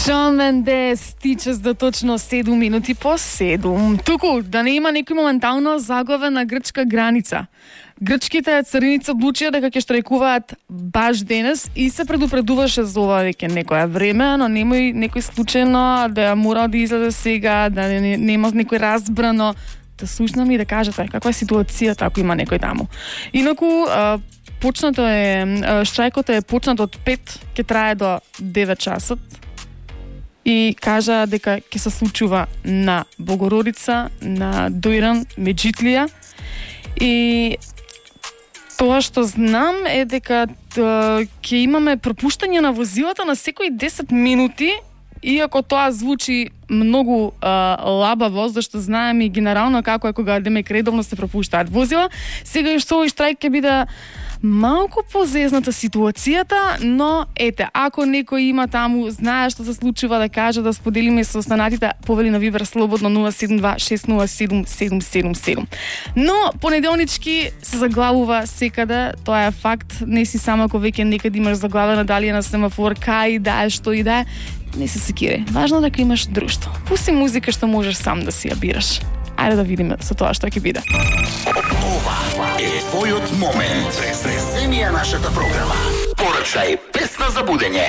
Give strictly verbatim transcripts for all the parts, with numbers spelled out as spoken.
Шон Мендес, тичес до точно седум минути по седум. Туку, да не има некој моментално заглаве на грчка граница. Грчките цариници одлучија дека ќе штрajкуваат баш денес и се предупредуваше за ова веќе некоја време, но немој некој случајно да мора да излезе сега, да не, нема некој разбрано, да слушнам и да кажете каква е ситуацијата ако има некој таму. Инаку, почнато е, штрајкот е почнат од пет, ќе трае до девет часот. И кажа дека ќе се случува на Богородица, на Дојран, Меджитлија. И тоа што знам е дека ќе имаме пропуштање на возилата на секои десет минути, иако тоа звучи многу а, лабаво, зашто знаеме и генерално како е кога демек редовно се пропуштаат возила. Сега што овој штрајк ќе биде малку позезната ситуацијата, но ете, ако некој има таму, знае што се случува, да каже, да споделиме со останатите, повели на Вибер слободно нула седум два шест нула седум седум седум седум. Но понеделнички се заглавува секаде, тоа е факт, не си само ако веќе некаде имаш заглавена дали е на семафор, кај да е, што и да е, не се секири. Важно дека имаш друштво. Пусти музика што можеш сам да си ја бираш. Ајде да видиме со тоа што ќе биде. Ова е твојот момент. Преземија нашата програма. Порачај песна за будење.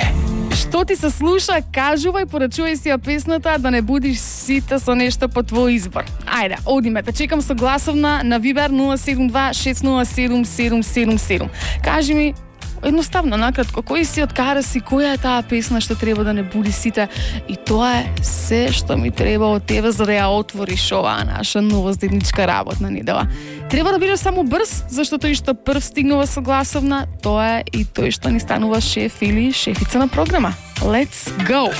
Што ти се слуша, кажувај, порачувај си ја песната, да не будиш сите со нешто по твој избор. Ајде, одиме, те чекам со гласовна на Вибер нула седум два шест нула седум седум седум седум. Кажи ми, едноставно, накратко, кој си, откара си, која е таа песна што треба да не буди сите, и тоа е се што ми треба од тебе за да ја отвориш оваа наша новоздедничка работна недела. Треба да бидеш само брз, зашто тој што прв стигнува со гласовна, тоа е и тој што ни станува шеф или шефица на програма. Let's go!